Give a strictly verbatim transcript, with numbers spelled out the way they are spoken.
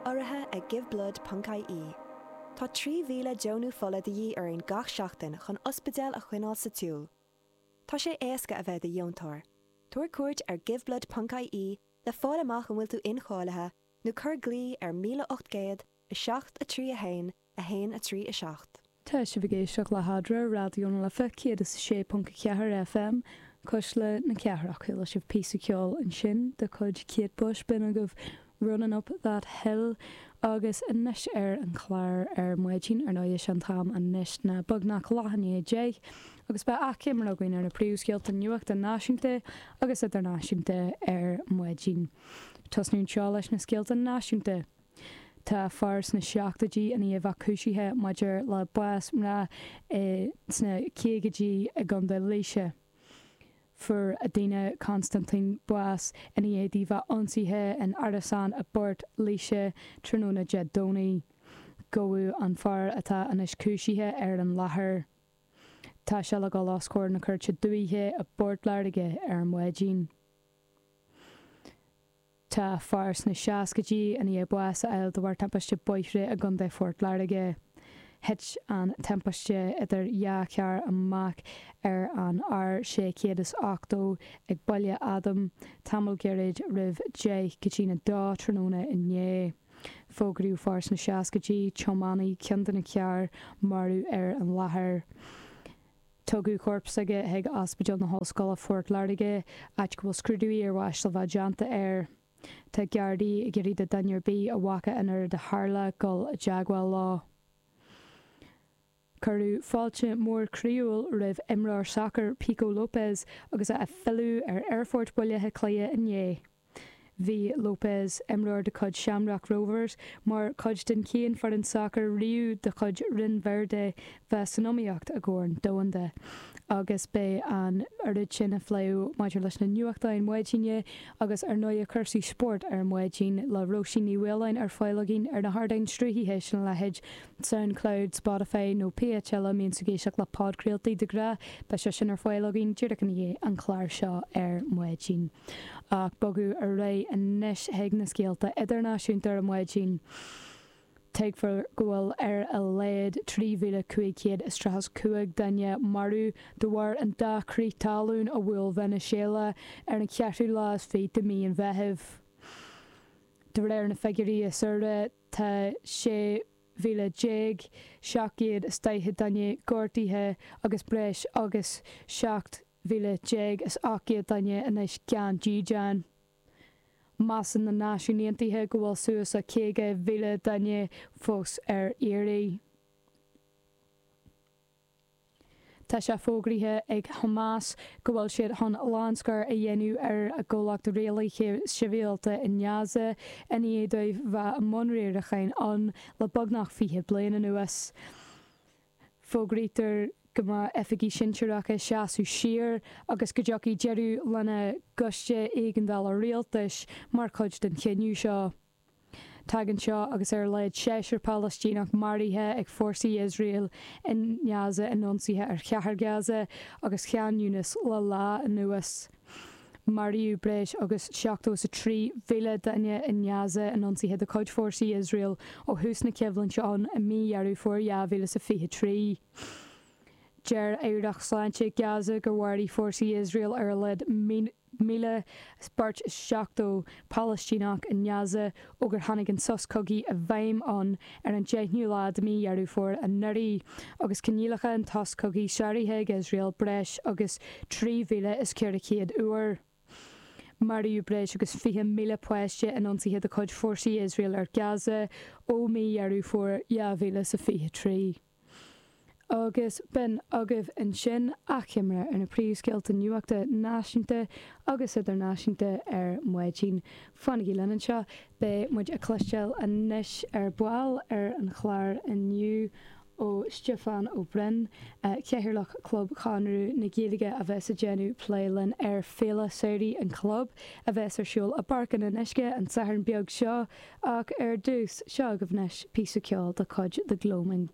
Urraithe ag giveblood ponc I E. Tá trí mhíle deonú fola de dhíth orainn gach seachtain chun ospidéil a choinneáil sa tsiúl. Tá sé éasca a bheith i do dheontóir. Tabhair cuairt ar giveblood ponc I E le fáil amach an bhfuil tú incháilithe nó cuir glao ar míle ocht gcéad a seacht a trí a haon a haon a trí a seacht. Tá sibh ag éisteacht le hAdra, Raidió na Life céad is a sé ponc ceathair F M, Cuisle na Cathrach. Chuala sibh píosa ceoil ansin de chuid Kate Bush, b'in agaibh "Running Up That Hill". Agus anois ar an chlár ar maidin, ar ndóigh, an t-am anois ná beagnach leath i ndiaidh deich agus beidh achoimre againn ar na príomhscéalta nuachta náisiúnta agus idirnáisiúnta ar maidin. Tosnú anseo leis na scéalta náisiúnta. Tá fear sna seachtóidí i ndiaidh a bheith cúisithe maidir le bás mná sna caogaidí i gContae Laoise. Fuair Adina Constantine bás ina dhiaidh di bheith ionsaithe in árasán i bPort Laoise tráthnóna Dé Domhnaigh. Gabhadh an fear atá anois cúisithe ar an láthair. Tá sé le dul os comhair na cúirte dúiche i bPort Láirge ar maidin. Tá fear sna seascaidí i ndiaidh bás a fháil de bharr timpiste bóithre i gContae Phort Láirge. Thit an timpiste idir dhá charr amach ar an R sé chéad is ochtó ag Baile Adaim tamall gairid roimh deich go dtí a dó tráthnóna inné. Fógraíodh fear sna seascaidí, tiománaí ceann de na cairr, marbh ar an láthair. Tugadh corp s'aige chuig Ospidéal na hOllscoile Phort Láirge, áit go bhfuil scrúdú iarbháis le bheith déanta air. Tá Gardaí ag iarraidh do dhuine ar bith a bhfaca an rud a tharla dul i dteagmháil leo. Cuireadh fáilte mór croíúil roimh imreoir sacair Pico Lopez agus é ag filleadh ar Aerfort Bhaile Átha Cliath inné. Bhí Lopez, imreoir de chuid Shamrock Rovers, mar chuid den chéad fhoireann sacair riamh de chuid Rinn Verde bheith san iomaíocht i gCorn Domhanda. Agus beidh an oiread sin á phlé maidir leis na nuachtáin maidine agus ar ndóigh cúrsaí spóirt ar maidin le Róisín Ní Mhaoláin ar fáil againn ar na hardáin sruthaithe sin leithéid SoundCloud, Spotify nó pé áit eile a mbíonn ag éisteacht le podchraoltaí de ghnáth, beidh sé sin ar fáil againn díreach i ndiaidh an chlár seo ar maidin. Ach bogadh ar aghaidh anois chuig na scéalta idirnáisiúnta ar maidin. Tuigtear go bhfuil ar a laghad trí mhíle cúig chéad is tríocha cúig duine marbh de bharr an dá chrith talún a bhuail Veiniséala ar an cheathrú lá is fiche de mhí an Mheithimh. De réir na figiúirí is úire, tá sé mhíle déag seacht gcéad is daichead duine gortaithe agus breis agus seacht míle déag is ocht gcéad duine anois gan dídean. Measann na Náisiúin Aontaithe go bhfuil suas le caoga mhíle duine fós ar iarraidh. Tá sé fógraithe ag Hamas go bhfuil siad chun lánscor a dhéanamh ar a gcomhlacht rialaithe sibhialta i nGaza i ndiaidh dóibh bheith i mbun riaracháin ann le beagnach fiche bliain anuas. Fógraítear go mbeidh oifigigh sinsearacha ag seasamh siar agus go dtiocfaidh deireadh lena gcoiste éigeandála rialtais mar chuid den chinneadh seo. Tagann seo agus ar a laghad seisear Palaistíneach maraithe ag fórsaí Iosrael in nGaza in ionsaithe ar chathair Gaza agus Khan Younis le lá anuas. Maraíodh breis agus seachtó a trí mhíle duine i nGaza in ionsaithe de chuid fórsaí Iosrael ó thús na coimhlinte ann i mí Dheireadh Fómhair dhá mhíle is fiche a trí. Deir Aireacht Sláinte Gaza gur mharaigh fórsaí Iosrael ar a laghad míle beirt is seachtó Palaistíneach i nGaza ó gur tháinig an sos cogaidh i bhfeidhm ann ar an deichiú lá de mhí Dheireadh Fómhair anuraidh, agus coinníollacha an tsos cogaidh sáraithe ag Iosrael breis agus trí mhíle is ceithre chéad uair. Maraíodh breis agus fiche míle páiste in ionsaithe de chuid fórsaí Iosrael ar Gaza ó mí Dheireadh Fómhair dhá mhíle is fiche a trí. Agus b'in agaibh ansin achoimre ar na príomhscéalta nuachta náisiúnta agus idirnáisiúnta ar maidin. Fanaigí linn anseo, beidh muid ag cloisteáil anois ar ball ar an chlár inniu ó Stiofán Ó Broin, Cathaoirleach Chlub Chonradh na Gaeilge, a bheas ag déanamh plé linn ar Féile Samhraidh an Chlub a bheas ar siúl i bPáirc an Fhionnuisce an Satharn beag seo, ach ar dtús, seo agaibh anois píosa ceoil de chuid The Gloaming.